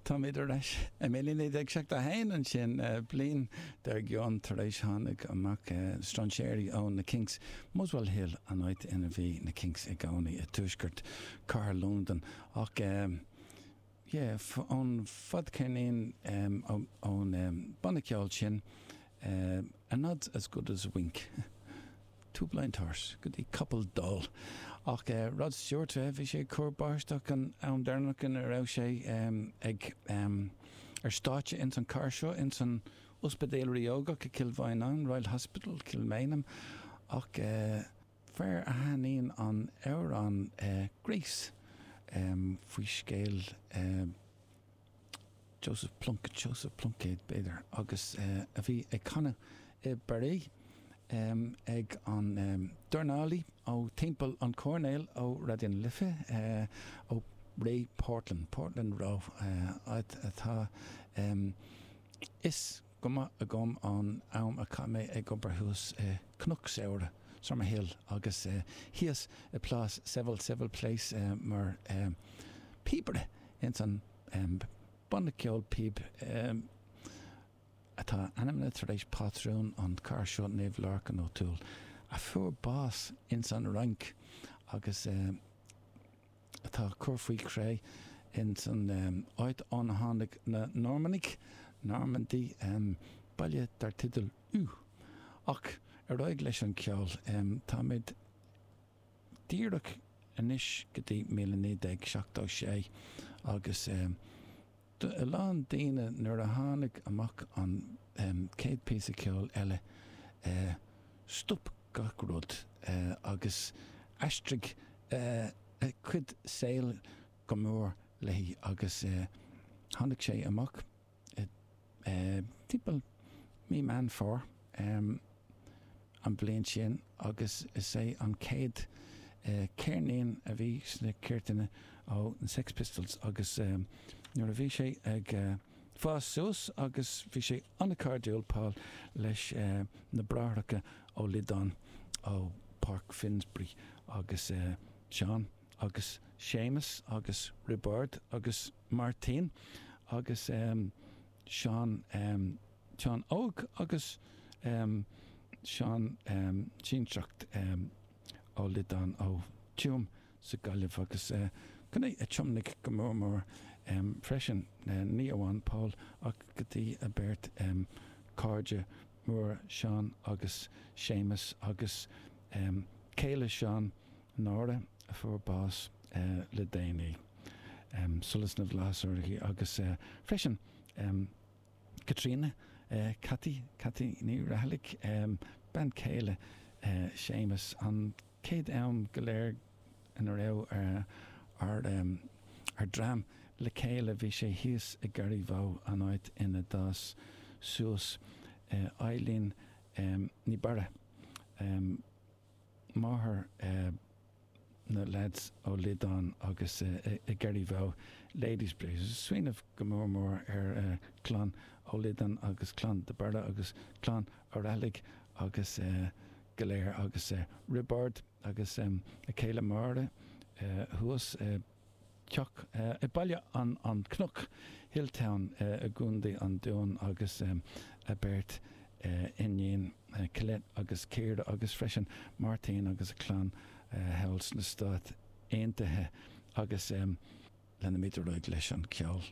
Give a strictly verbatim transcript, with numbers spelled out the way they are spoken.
Táimid ar ais i míle naoi déag seachtó a haon ansin, bliain dár gcionn tar éis tháinig amach strainséirí ó na Kinks, Muswell Hill an áit ina bhí na Kinks i gcónaí i tuaisceart cathair Londain ach yeah ón fadcheirnín ón banna ceoil sin A Nod's As Good As A Wink. Two Blind Horse go dtí Capall Dall. Ach Rod Stewart, bhí sé ag cur báisteach an am deireanach ina raibh sé ag ar stáitse ins an chathair seo, ins an Ospidéal Ríogach i Cill Mhaighneáin, Royal Hospital, Kilmainham. Ach fear a thaitníonn an amhrán Grace faoi scéal Joseph Plunkett, Joseph Pluincéad, b'fhéidir, agus a bhí ag canadh i bParis ag an dornálaí ó timpeall an choirnéil ó Raidió na Life, ó Ray Portland, Portland Row, áit atá fhios go maith agam ón am a chaith mé ag obair thuas i Cnoc Samhraidh, Summerhill, agus thíos i Plás Seville, Seville Place, mar phíobaire ins an banna ceoil píob atá ainmnithe tar éis pátrún an chathair seo, Naomh Lorcan O'Toole, a fuair bás ins an Fhrainc agus atá curtha faoi chré ins an áit óna tháinig na Normannaigh, Normandy, baile dar teideal Eu. Ach ar aghaidh leis an ceol, táimid díreach anois go dtí míle naoi déag seachtó sé agus do a lán daoine nuair a tháinig amach an chéad píosa ceoil eile stop gach rud agus aistrigh a cuid saoil go mór léi agus tháinig sé amach timpeall mí Meán Fómhair an bhliain sin agus is é an chéad ceirnín a bhí sna cúirteanna ó na Sex Pistols agus nuair a bhí sé ag fás suas agus bhí sé an-chairdiúil, Paul, leis na bráithreacha Ó Loideáin ó Páirc Finsbury agus Seán agus Séamus agus Roibeárd agus Máirtín agus Seán, Seán Óg agus Seán Sinsearach Ó Loideáin ó Tuaim sa Ghaillimh agus gné a thiomnaigh go mór mór freisin, ní amháin Paul ach go dtí a beirt cairde móra Seán agus Séamus agus céile Seán, Nóra, a fuair bás le déanaí. Solas na bhFlaitheas uirthi agus freisin Caitríona, Cathy, Cathy Ní Raghallaigh, bean chéile Séamus, an chéad am go léir ina raibh ár ár dream le chéile bhí sé thíos i Garryvoe, an áit ina d'fhás suas Eileen Ní Barra, máthair na leaids Ó Loideáin agus i Garryvoe, Ladysbridge. Smaoineamh go mór mór ar chlann Ó Loideáin agus clann de Barra agus clann Ó Raghallaigh agus go léir agus Roibeárd agus a chéile Máire thuas i dteach i Baile an Chnoic, Hilltown i gContae an Dúin agus a beirt iníon Colette agus Ciara agus freisin Máirtín agus a chlann thall sna Stáit Aontaithe agus leanfaimid ar aghaidh leis an cheol.